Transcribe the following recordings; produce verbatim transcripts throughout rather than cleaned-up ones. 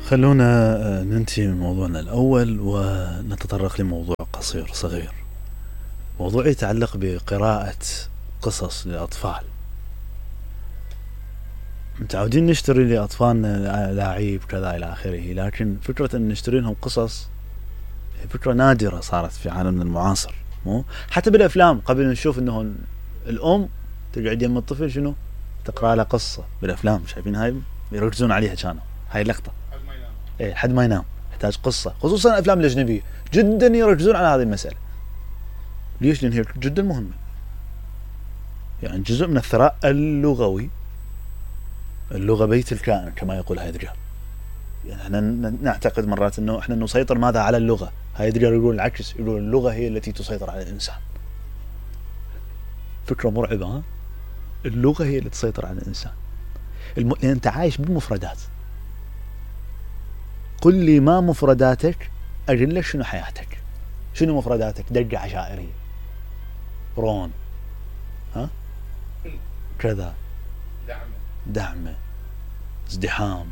خلونا ننتهي من موضوعنا الأول ونتطرق لموضوع قصير صغير. موضوع يتعلق بقراءة قصص للأطفال. متعودين نشتري لأطفالنا لاعيب كذا إلى آخره، لكن فكرة أن نشتري لهم قصص فكرة نادرة صارت في عالمنا المعاصر. مو حتى بالأفلام قبل نشوف أنه الأم تقعد يم الطفل شنو تقرأ له قصة بالأفلام، شايفين هاي يركزون عليها، كانوا هاي اللقطة ايه حد ما ينام يحتاج قصة، خصوصا الأفلام الأجنبية جدا يركزون على هذه المسألة. ليش؟ لأن هي جدا مهمة، يعني جزء من الثراء اللغوي. اللغة بيت الكائن كما يقول هايدجر. يعني احنا نعتقد مرات انه احنا نسيطر ماذا على اللغة، هايدجر يقول العكس، يقول اللغة هي التي تسيطر على الإنسان. فكرة مرعبة. ها؟ اللغة هي التي تسيطر على الإنسان. الم... لأن أنت عايش بالمفردات. قل لي ما مفرداتك أجل لك شنو حياتك. شنو مفرداتك؟ دقة عشائرية، رون، ها كذا، دعمه دعمه ازدحام،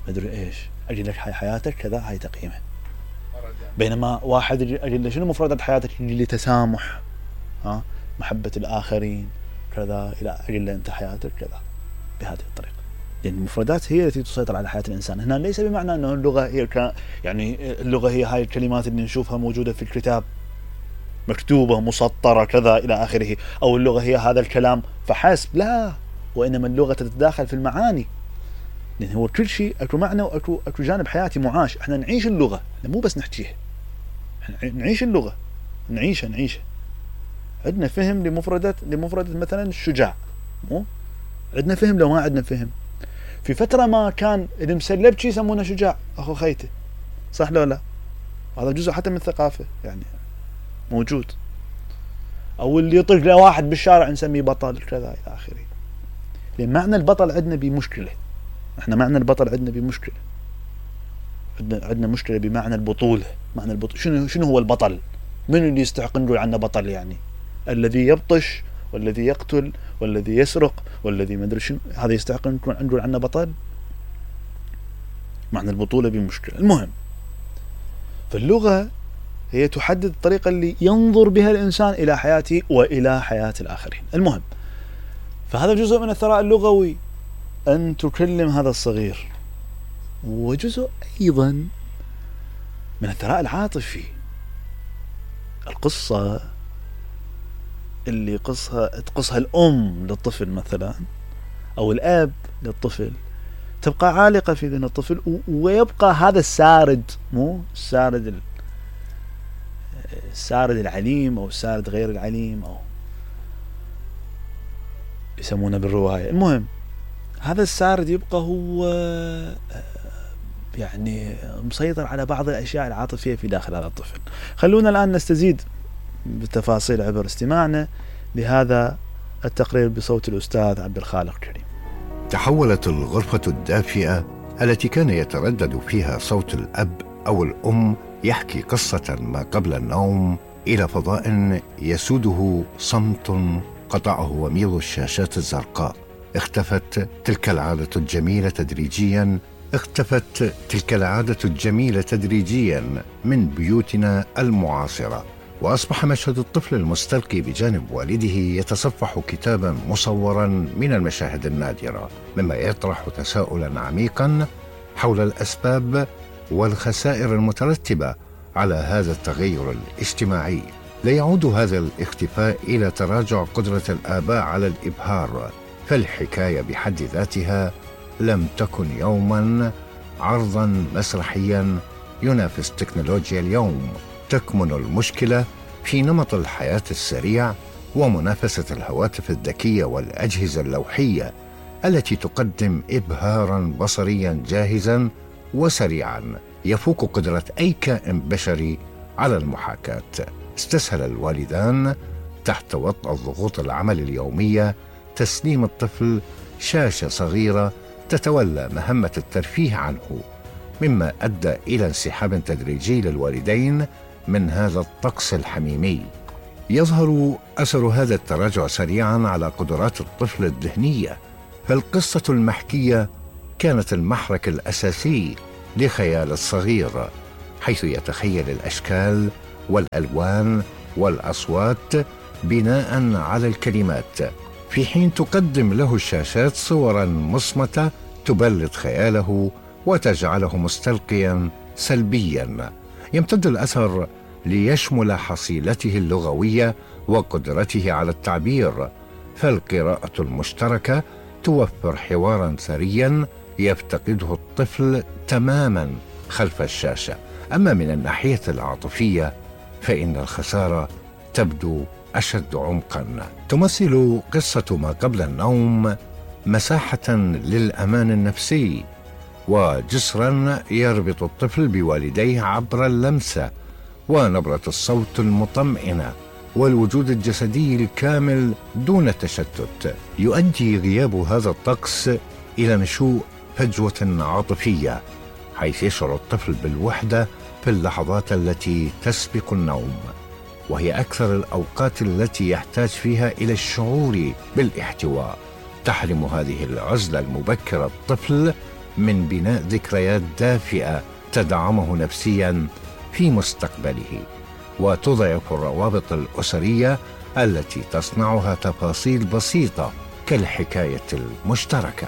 مدري ايش، اجل لك هاي حياتك كذا، هاي تقييمه. بينما واحد اجل شنو مفردات حياتك؟ اجل لي تسامح، ها محبة الآخرين كذا، الى اجل انت حياتك كذا، بهذه الطريقة. لأن المفردات هي التي تسيطر على حياة الإنسان. هنا ليس بمعنى أنه اللغة هي ك... يعني اللغة هي هاي الكلمات اللي نشوفها موجودة في الكتاب مكتوبة مسطرة كذا إلى آخره، أو اللغة هي هذا الكلام فحسب، لا، وإنما اللغة تتداخل في المعاني. لأن هو كل شيء أكو معنى وأكو أكو جانب حياتي معاش. إحنا نعيش اللغة، إحنا مو بس نحكيها، إحنا نعيش اللغة، نعيشها نعيشها. عندنا فهم لمفردات لمفردة مثلا الشجاع، مو عندنا فهم لو ما عندنا فهم. في فترة ما كان اللي مسلبشي يسمونه شجاع، أخو خيته، صح لو لا؟ هذا جزء حتى من الثقافة يعني موجود. أو اللي يطق له واحد بالشارع نسميه بطل كذا إلى آخره. لأن معنى البطل عندنا بمشكلة. إحنا معنى البطل عندنا بمشكلة. عندنا عندنا مشكلة بمعنى البطولة. معنى البطولة شنو شنو هو البطل؟ من اللي يستحق نقول عنه بطل؟ يعني الذي يبطش والذي يقتل والذي يسرق والذي ما ادري شنو، هذا يستحق نقول عنه بطل؟ معنى البطولة بمشكلة. المهم، فاللغة هي تحدد الطريقة اللي ينظر بها الإنسان إلى حياته وإلى حياة الآخرين. المهم، فهذا جزء من الثراء اللغوي أن تكلم هذا الصغير، وجزء أيضا من الثراء العاطفي. القصة اللي قصها تقصها الأم للطفل مثلا أو الأب للطفل تبقى عالقة في ذهن الطفل، ويبقى هذا السارد، مو السارد السارد العليم أو السارد غير العليم أو يسمونه بالرواية. المهم، هذا السارد يبقى هو يعني مسيطر على بعض الأشياء العاطفية في داخل هذا الطفل. خلونا الآن نستزيد بالتفاصيل عبر استماعنا لهذا التقرير بصوت الأستاذ عبد الخالق كريم. تحولت الغرفة الدافئة التي كان يتردد فيها صوت الأب أو الأم يحكي قصة ما قبل النوم إلى فضاء يسوده صمت قطعه وميض الشاشات الزرقاء. اختفت تلك العادة الجميلة تدريجياً اختفت تلك العادة الجميلة تدريجياً من بيوتنا المعاصرة، وأصبح مشهد الطفل المستلقي بجانب والده يتصفح كتاباً مصوراً من المشاهد النادرة، مما يطرح تساؤلاً عميقاً حول الأسباب والخسائر المترتبة على هذا التغير الاجتماعي. لا يعود هذا الاختفاء إلى تراجع قدرة الآباء على الإبهار، فالحكاية بحد ذاتها لم تكن يوماً عرضاً مسرحياً ينافس تكنولوجيا اليوم. تكمن المشكلة في نمط الحياة السريع ومنافسة الهواتف الذكية والأجهزة اللوحية التي تقدم إبهاراً بصرياً جاهزاً وسريعاً يفوق قدرة أي كائن بشري على المحاكاة. استسهل الوالدان تحت وطأ الضغوط العمل اليومية تسليم الطفل شاشة صغيرة تتولى مهمة الترفيه عنه، مما أدى إلى انسحاب تدريجي للوالدين من هذا الطقس الحميمي. يظهر أثر هذا التراجع سريعاً على قدرات الطفل الذهنية، فالقصة المحكية كانت المحرك الأساسي لخيال الصغير، حيث يتخيل الأشكال والألوان والأصوات بناء على الكلمات، في حين تقدم له الشاشات صورا مصمتة تبلد خياله وتجعله مستلقيا سلبيا. يمتد الأثر ليشمل حصيلته اللغوية وقدرته على التعبير، فالقراءة المشتركة توفر حوارا ثريا يفتقده الطفل تماما خلف الشاشة. أما من الناحية العاطفية فإن الخسارة تبدو أشد عمقا. تمثل قصة ما قبل النوم مساحة للأمان النفسي وجسرا يربط الطفل بوالديه عبر اللمسة ونبرة الصوت المطمئنة والوجود الجسدي الكامل دون تشتت. يؤدي غياب هذا الطقس إلى نشوء فجوة عاطفية، حيث يشعر الطفل بالوحدة في اللحظات التي تسبق النوم، وهي أكثر الأوقات التي يحتاج فيها إلى الشعور بالاحتواء. تحرم هذه العزلة المبكرة الطفل من بناء ذكريات دافئة تدعمه نفسيا في مستقبله، وتضعف الروابط الأسرية التي تصنعها تفاصيل بسيطة كالحكاية المشتركة.